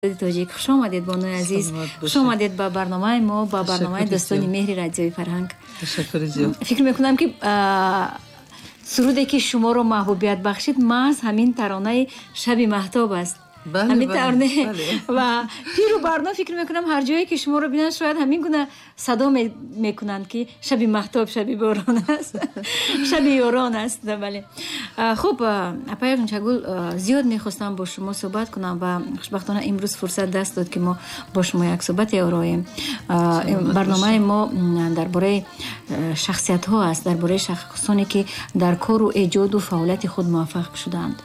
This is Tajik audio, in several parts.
Тоҷик. Хуш омадед, бонуи азиз, хуш омадед ба барномаи мо, ба барномаи «Дӯстони меҳри радиои Фарҳанг». Ташаккури зиёд. Фикр мекунам, ки суруде, ки шуморо маҳбубият бахшид, маҳз ҳамин таронаи «Шаби маҳтоб» аст. Ҳамин тарона ва пиру барно, фикр мекунам, ҳар ҷое ки шуморо бинанд, шояд ҳамин гуна садо мекунанд, ки шаби маҳтоб, шаби борон аст, шаби ёрон аст. Бале, хуб, апаи Ғунчагул, зиёд мехостам бо шумо суҳбат кунам ва хушбахтона имрӯз фурсат даст дод, ки мо бо шумо як суҳбате ороем. Барномаи мо дар бораи шахсиятҳо аст, дар бораи шахсоне, ки дар кору эҷоду фаъолияти худ муваффақ шудаанд,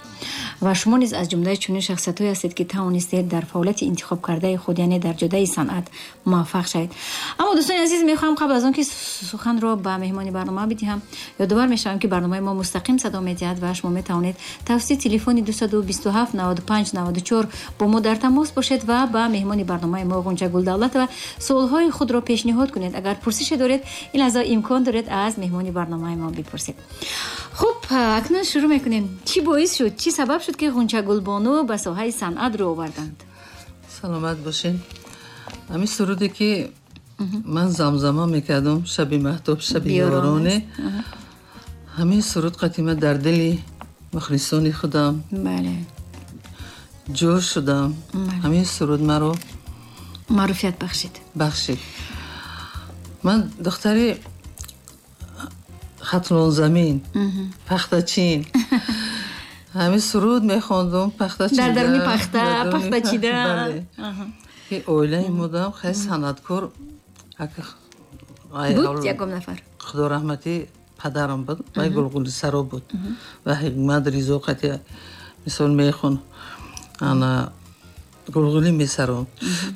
ва шумо низ аз ҷумлаи чунин шахсиятҳое ҳастед, ки тавонистед дар фаъолияти интихобкардаи худ, яъне дар ҷодаи санъат, муваффақ шавед. Аммо, дӯстони азиз, мехоҳам қабл аз он ки суханро ба меҳмони барнома бидиҳам, ёдовар мешавам, ки барномаи мо мустақим садо медиҳад ва шумо метавонед тавассути телефони 227 95 94 бо мо дар тамос бошед ва ба меҳмони барномаи мо, Ғунчагул Давлатова, суолҳои худро пешниҳод кунед. Агар пурсише доред, ин лаҳза имкон доред аз меҳмони барномаи мо бипурсед. Хуб, акнун шурӯъ мекунем. Чӣ боис шуд, чӣ сабаб шуд, ки Ғунчагулбону ба соҳаи санъат рӯ оварданд? Саломат бошед. Ҳамин суруде, ки ман замзама мекардам, «Шаби маҳтоб, шаби ёроне», ҳамин суруд қатима дар дили мухлисони худам ҷо шудам. Ҳамин суруд маро маъруфият бахшид. Бахшид. Ман духтари Хатлонзамин, пахтачин, ҳамин суруд мехондум пахта. Дар даруни пахта пахта чида. Ки оилаи модам хеле санъаткор буд, ягон нафар. Худо раҳматӣ, падарам буд, вай гулғулисаро буд ва Ҳикмат Ризо қати мисол мехон, ана гулғулӣ месаром.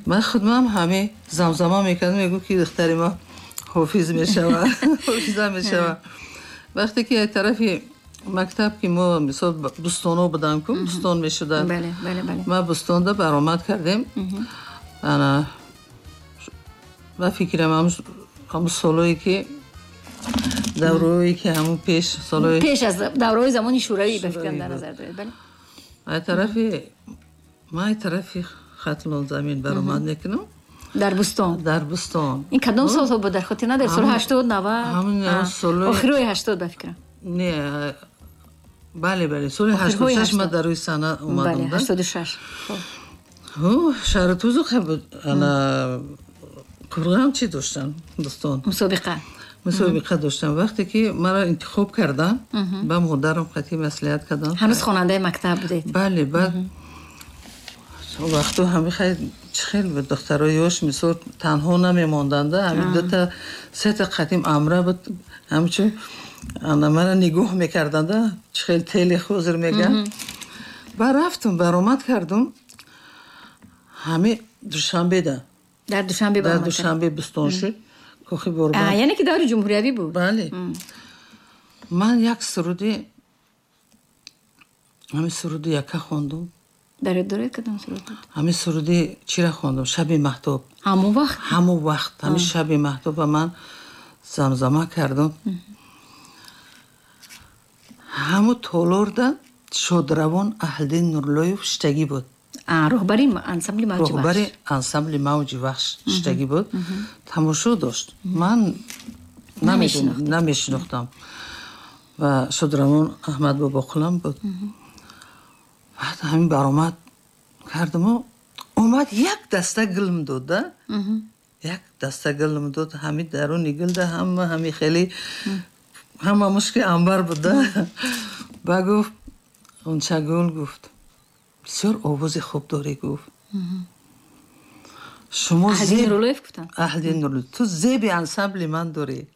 Ман худмам ҳаме замзама мекардам. Мегӯ, ки духтари ма ҳофиз мешава, ҳофиза мешава. Вақте ки аз тарафи мактаб, ки мо мисол бӯстоно будам ку, бӯстон мешуда, ма бӯстонда баромад кардем. Ана ба фикрам, ҳамун солое ки даврое ки ҳамун пеш солои пеш аз давраҳои замони Шӯравӣ, ба фикрам, дар назар доред, бале. Аз тарафи ма, аз тарафи Хатлон замин баромад мекунам. Дар бӯстон. Дар бӯстон. Ин кадом солҳо буд, дар хотир надоред? Соли 80, 90, охирои 80, ба фикрам. Не, бале, соли 86 ма дар рӯи саҳна омадам. 86. Шаҳри Тузу буд. Ана қурғам чӣ доштан, дӯстон. Мусобиқа. Мусобиқа доштам. Вақте ки маро интихоб кардам, ба модарам қатъи маслиҳат кардам. Ҳанӯз хонандаи мактаб будед. Бале. Баъд вақту ҳами хел чӣ хел буд, духтарои ёш мисол танҳо намемонданда, ҳами дута сета қатим амра буд, ҳамчун ана мара нигоҳ мекарданда, чӣ хел тели ҳозир меган. Баъд рафтум, баромад кардум ҳами Душанбеда. Дар Душанбе. Дар Душанбе бӯстон шуд, кохи Борбад. Яъне ки даври ҷумҳуриявӣ буд. Бале. Ман як суруди, ҳамин суруди яка хондум. Дар ёд доред, кадом суруд буд? Ҳамин суруди чира хондум, «Шаби маҳтоб». Ҳамон вақт? Ҳамон вақт ҳамин «Шаби маҳтоба» ман замзама кардум. Ҳамун толорда шодравон Аҳлиддин Нурлоев шиштагӣ буд. Роҳбари ансамбли «Мавҷи». Роҳбари ансамбли «Мавҷи Вахш» шиштагӣ буд, тамошо дошт. Ман намешинохтам. Ва шодравон Аҳмад Бобоқулам буд. Баъд ҳамин баромад кардаму омад, як даста гулм дод, як даста гулм дод. Ҳами даруни гулда ҳама ҳами хеле ҳама мушки амбар буда. Ба гуфт: «Ғунчагул», гуфт, «бисёр овози хуб дорӣ», гуфт, «шумо» Нуруллоев гуфтанд. Аҳлиддин Нуруллоев. «Ту зеби ансамбли ман дорӣ».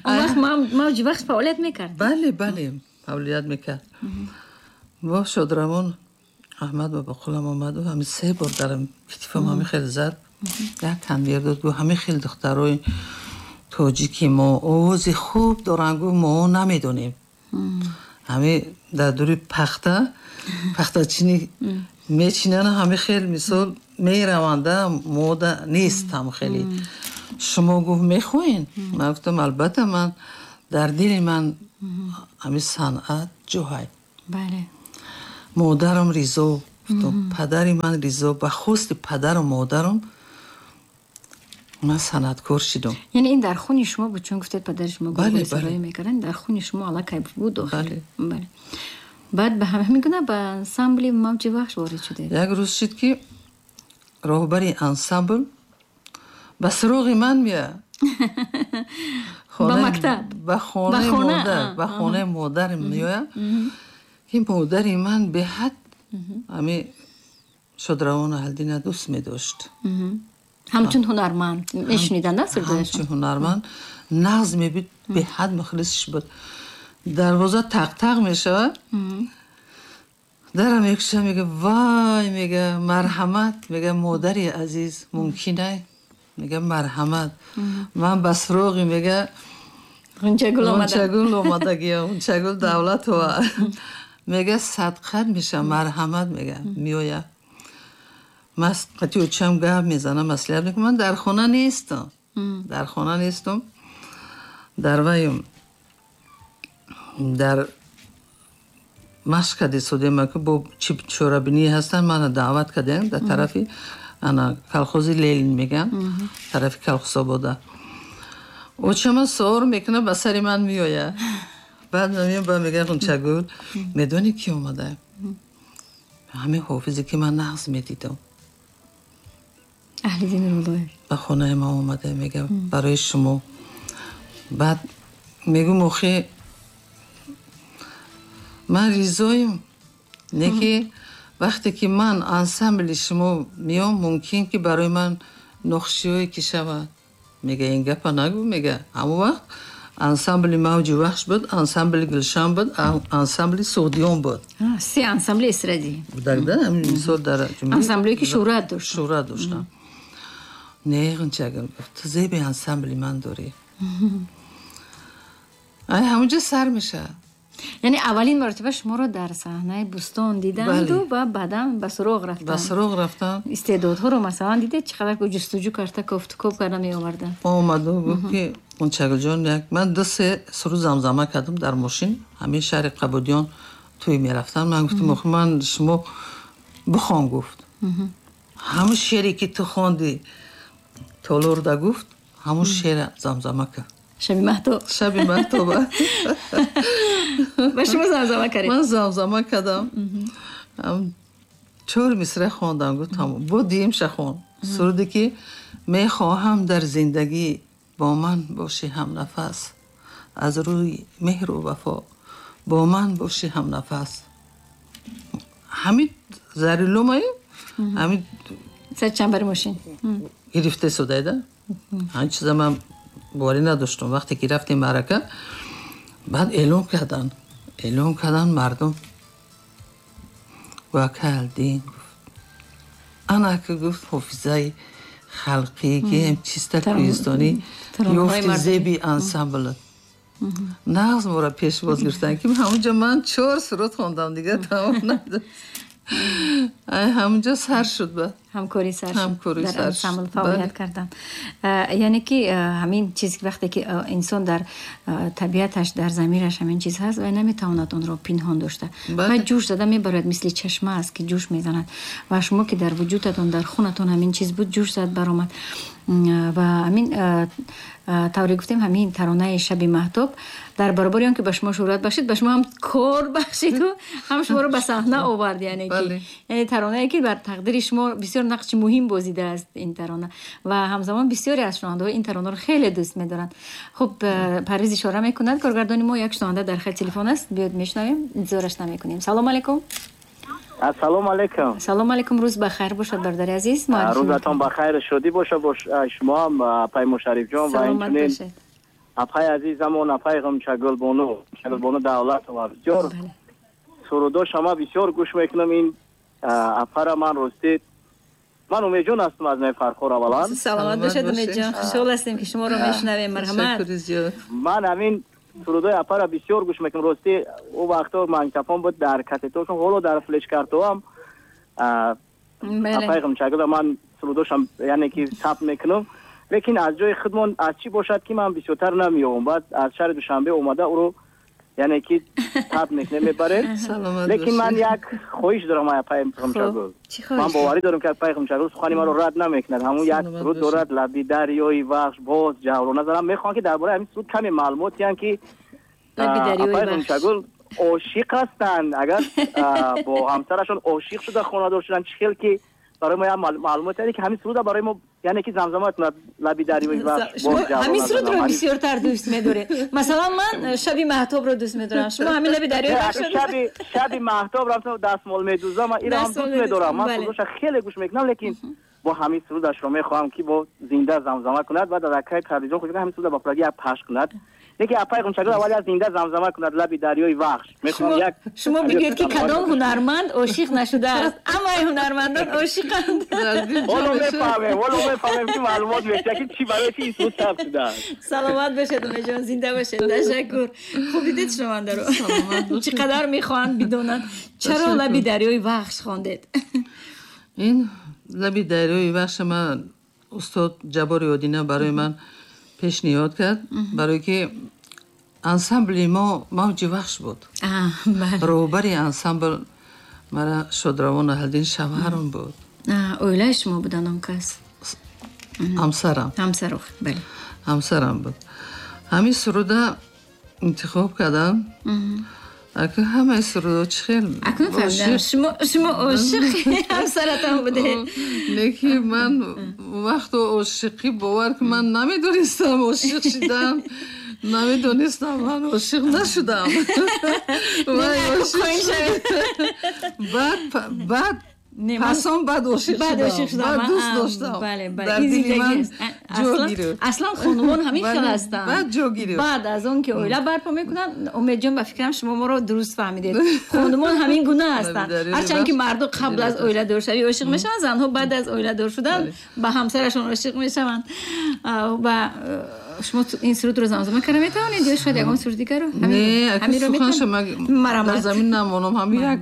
Он вақт «Мавҷи Вахш» фаъолият мекард? Бале, фаъолият мекард. Бо шодравон Аҳмад Бобоқулам омаду ҳами се бор дар китифам ҳами хел зад, як танвир дод, гуфт: «Ҳами хел духтарои тоҷики мо овози хуб доранд», гуфт, «мо намедонем, ҳами дар дури пахта пахтачинӣ мечинанд, ҳами хел мисол мераванда, мода нест ҳам хеле. Шумо», гуфт, «мехоҳед?» Ман гуфтам: «Албатта, ман дар дили ман ҳами санъат ҷоҳай». Модарам ризо. Гуфтам, падари ман Ризо, ба хости падару модарам ман санъаткор шудам. Яъне ин дар хуни шумо буд, чун гуфтед падари шумо гулгулсароӣ мекарданд, дар хуни шумо аллакай буд охир. Бале. Баъд ба ҳамин гуна ба ансамбли Мавҷи Вахш ворид шудед. Як рӯз шуд, ки роҳбари ансамбл ба суроғи ман меояд. Ба мактаб? Ба хонаи модар, ба хонаи модар меояд, ки модари ман беҳад ҳамин Шодравон Аҳлиддинро дӯст медошт. Ҳамчун ҳунарманд мешуниданд, сурудҳояшон? Ҳамчун ҳунарманд нағз мебид, беҳад мухлисш буд. Дарвоза тақ-тақ мешавад, дара мекушад, мега вай, мега марҳамат, мега модари азиз, мумкин ай? Мега марҳамат, ман ба суроғи, мега Ғунчагул омадагиям, Ғунчагул Давлатова. Мега садқат мешавам, марҳамат, мега меояд. Ман қати очам гап мезанам, маслиҳат мекунам, ман дар хона нестам. Дар хона нестам. Дар ваем дар машқ кардисодем, ки бо чӣ чорабинӣ ҳастанд, мана даъват кардем дар тарафи ана колхози Ленин мегӯянд, тарафи Колхозобода. Очама савор мекунад, ба сари ман меояд. Баъд меоям, ба мегӯяд: Ғунчагул, медонӣ ки омада? Ҳамин ҳофизе ки ман нағз медидам. Аҳлиддин Рулоев. Ба хонаи ман омада, мегӯяд, барои шумо. Баъд мегӯм: охи, ман ризоем, не ки вақте ки ман ансамбли шумо меом, мумкин ки барои ман нохушиҳое ки шавад. Мега ин гапа нагӯ, мега ҳамон вақт ансамбли Мавҷи Вахш буд, ансамбли Гулшан буд, ансамбли Суғдиён буд. Се ансамбли эстрадӣ. Будагда, ҳамин мисол дар ансамбле ки шӯҳрат дошт. Шӯҳрат доштанд. Не, Ғунчагул, гуфт, ту зеби ансамбли ман дорӣ. Ай ҳамонҷо сар мешавад. Яъне аввалин маротиба шуморо дар саҳнаи Бӯстон диданду ва баъдан ба суроғ рафтанд. Ба суроғ рафтанд. Истеъдодҳоро масалан дидед, чӣ қадар ҷустуҷӯ карда, кофтукоб карда меоварданд. Омаду гуфт, ки Ғунчагулҷон, як ман 2-3 суруд замзама кардам дар мошин, ҳамин шаҳри Қабудиён тӯй мерафтанд. Ман гуфтам: охи, ман шумо бихон, гуфт. Ҳамон шере ки ту хонди толорда, гуфт, ҳамон шеъра замзама кард. Шаби маҳтоб. Шаби маҳтоба. Ва шумо замзама кардед? Ман замзама кардам. Чор мисра хондам, гуфт тамом. Бо дуюмша хон. Суруде ки мехоҳам дар зиндагӣ бо ман бошӣ ҳамнафас, аз рӯи меҳру вафо бо ман бошӣ ҳамнафас. Ҳамин зариломаю ҳамин сар чанбари мошин гирифта истодайда. Ҳамин чиза ман боварӣ надоштам. Вақте ки рафтем маърака, баъд эълон карданд. Эълон карданд, мардум Вакалдин гуфт. Ана ки гуфт ҳофизаи халқӣ, ки чиста кӯҳистонӣ ёфти зеби ансамбл. Нағз моро пешвоз гирифтанд, ки ҳамонҷо ман чор суруд хондам, дигар тамом надошт. Ай ҳамонҷо сар шуд ба. Ҳамкорӣ сар шуд. Ҳамкорӣ дар сар ансамбл шуд. Фаъолият кардан. Яъне ки ҳамин чиз, вақте ки инсон дар табиаташ, дар замираш ҳамин чиз ҳаст, вай наметавонад онро пинҳон дошта. Ва ҷӯш зада мебарояд, мисли чашма аст, ки ҷӯш мезанад. Ва шумо ки дар вуҷудатон, дар хунатон ҳамин чиз буд, ҷӯш зад баромад. Ва ҳамин тавре гуфтем, ҳамин таронаи Шаби маҳтоб дар баробари он ки ба шумо шӯҳрат бахшид, ба шумо ҳам кор бахшиду ҳам шуморо ба саҳна овард. Яъне ки яъне таронае ки бар тақдири шумо бисёр нақши муҳим бозидааст ин тарона, ва ҳамзамон бисёре аз шунавандаҳо ин таронаро хеле дӯст медоранд. Хуб, Парвиз ишора мекунад коргардони мо, як шунаванда дар хат телефон аст, биёед мешунавем, интизораш намекунем. Салом алейкум. Ассалому алайкум. Салом алейкум, рӯз ба хайр бошад, бародари азиз. Рӯзатон ба хайр шодӣ боша, бош шумо ҳам, апай Мушариф ҷон, ва инчунин апай азизамон, апай Ғунчагулбону, Ғунчагулбону Давлатова. Бисёр сурудо шумо бисёр гӯш мекунам ин апара ман ростӣ. Ман Умедҷон ҳастам аз Най Фархор аввалан. Саломат бошед, Умедҷон. Хушҳол ҳастем, ки шуморо мешунавем. Марҳамат. Ман ҳамин сурудои апара бисёр гӯш мекунам. Ростӣ ӯ вақто магнитофон буд, дар кассетошон, ҳоло дар флешкартоам апай Ғунчагула ман сурудошам, яъне ки сабт мекунам. Лекин аз ҷои худмон аз чӣ бошад, ки ман бисёртар намеёбам. Баъд аз шаҳри Душанбе омада ӯро Яъне ки таб мекунем, мебарем. Лекин ман як хоҳиш дорам, апаи Ғунчагул. Ман боварӣ дорам, ки апаи Ғунчагул сухани маро рад намекунад. Ҳамун як суруд дорад, лаби дарёи Вахш боз ҷавлона занам. Мехоҳам, ки дар бораи ҳамин суруд каме маълумот диҳам, ки апаи Ғунчагул ошиқ ҳастанд. Агар бо ҳамсарашон ошиқ шуда хонадор шуданд, чӣ хел, ки барои мо як маълумот, яъне ки ҳамин суруда барои мо, яъне ки замзама кунад, лаби дарёи Вахш боз ҷавлона. Ҳамин сурудро бисёртар дӯст медоред. Масалан, ман шаби маҳтобро дӯст медорам, шумо ҳамин лаби дарёи Вахш. Шаби маҳтоб рафтам, дастмол медӯзам, ман инро ҳам дӯст медорам. Ман сурудоша хеле гӯш мекунам, лекин бо ҳамин сурудашро мехоҳам, ки бо зинда замзама кунад ва дар акаи телевизион худ ҳамин суруда ба пурагӣ як пахш кунад. Лекин апаи Ғунчагул аввал як зинда замзама кунад, лаби дарёи Вахш. Мехоҳам як Шумо бигӯед, ки кадом ҳунарманд ошиқ нашудааст? Ҳамаи ҳунармандон ошиқанд. Ҳоло мефаҳмем, ки маълумот мешавад, ки чӣ, барои чи ин суруд сабт шудааст. Саломат бошед, Умедҷон, зинда бошед, ташаккур. Хуб, дидед, шунавандаро чӣ қадар мехоҳанд бидонанд, чаро лаби дарёи Вахш хондед? Ин лаби дарёи Вахша ман устод Ҷаббори Одина барои ман пешниҳод кард, барое ки ансамбли мо Мавҷи Вахш буд. Роҳбари ансамбл мара шодравон Аҳлиддин шавҳарам буд. Оилаи шумо буданд он кас? Ҳамсарам. Ҳамсаро, бале. Ҳамсарам буд. Ҳамин суруда интихоб кардам. Ака, ҳамаи сурудо чӣ хел Акнун фаҳмидам, шумо ошиқи ҳамсаратон будед. Лекин ман вақто ошиқӣ, бовар ки, ман намедонистам, ошиқ шидан намедонистам, ман ошиқ нашудам. Баъд пасон баъд ошиқ шудам, баъд дӯст доштам. Бале, аслан хонумон ҳамин хел ҳастанд. Баъд ҷо гирифт. Баъд аз он ки оила барпо мекунанд. Умедҷон, ба фикрам, шумо моро дуруст фаҳмидед. Хонумон ҳамин гуна ҳастанд. Ҳарчанд ки марду қабл аз оиладоршавӣ ошиқ мешаванд, занҳо баъд аз оиладор шудан ба ҳамсарашон ошиқ мешаванд. Ва шумо ин сурудро замзама карда метавонед ё шояд ягон суруд дигарро? Не, суханша дар замин намонам, ҳамин як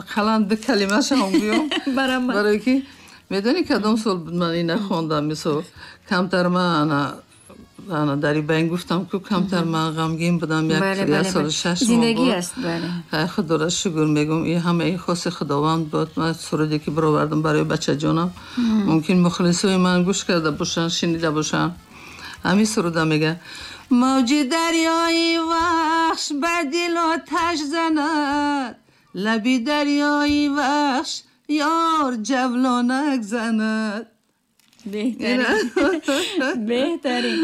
ақаллан ду калимашам гӯям, барое ки медонӣ, кадом сол буд ман ина хондам? Мисол, камтар ман ана дар ибайн гуфтам, ку камтар ман ғамгин будам, як солу 6 моҳ. Худоро шукр мегӯм, и ҳама ин хоси Худованд буд. Ман суруде ки баровардам барои бачаҷонам, мумкин мухлисои ман гӯш карда бошанд, шинида бошанд. Ҳамин суруда мега: мавҷи дарёи Вахш ба дил оташ занад, лаби дарёи Вахш ёр ҷавлонак занад. Беҳтарин, беҳтарин.